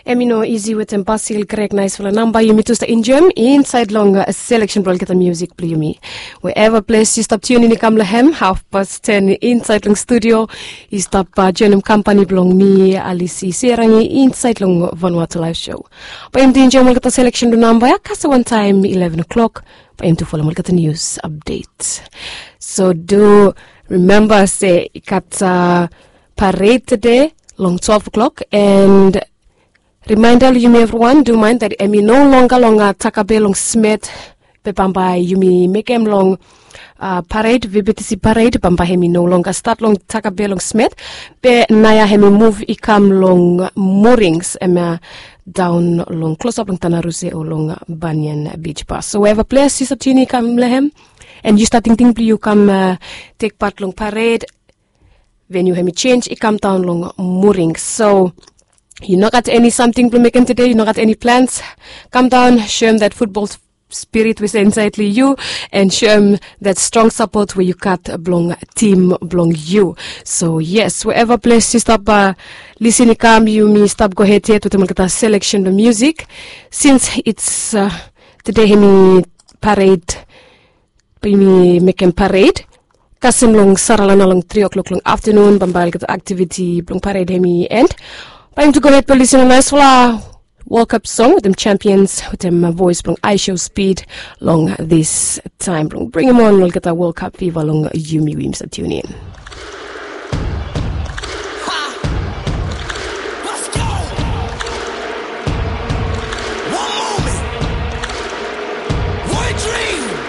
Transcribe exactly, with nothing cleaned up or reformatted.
Em i no isi wetem Basil Greg, naisfala namba yumi tu stap enjoem insaed long seleksen blong olgeta musik blong yumi. Wherever ples yu stap tiunin i kam long hem, hafpas ten insaed long studio i stap joenem kampani blong mi, Alisi Serangi, insaed long Vanuatu Laef Show. Bae yumi tu enjoem olgeta seleksen blong namba ya kasem wantaem ileven o'clock, bae yumi tu folem olgeta nius apdet. So do rimemba se i gat pared tede long twelve o'clock, and rimaenda long yumi evriwan, do maen dat em i no longer long Takabe long Smet, be bambae yumi mekem long pared, VBTC pared bambae hem i no longer stat long Takabe long Smet, be naoia hem i muv i kam long Murings, hemia daon long klosap long Tanaruse o long Banyan Beach Bar. So wherever ples yu stap tiunin i kam long hem, and yu stap tingting blong yu kam tek pat long pared, veniu hem i jenj i kam daon long Murings. So yu no gat eni samting blong mekem tede, yu no gat eni plans, kam daon, soem dat futbol spirit we se insaed long yu, and soem dat strong sapot we yu gat blong tim blong yu. So yes, wherever ples yu stap lisin i kam, yumi stap gohed yet wetem olgeta seleksen blong musik. Since it's tede hem i pared, bae yumi mekem pared kasem long Saralana long tri o'clock long aftenun, bambae olgeta aktiviti blong pared hem i end. Bae yumi tu gohed blong lisin long naisfala World Cup song wetem Champions wetem voes blong Aisho Speed long this time blong bringim on olgeta World Cup fiva long yumi we yumi stap tiunin.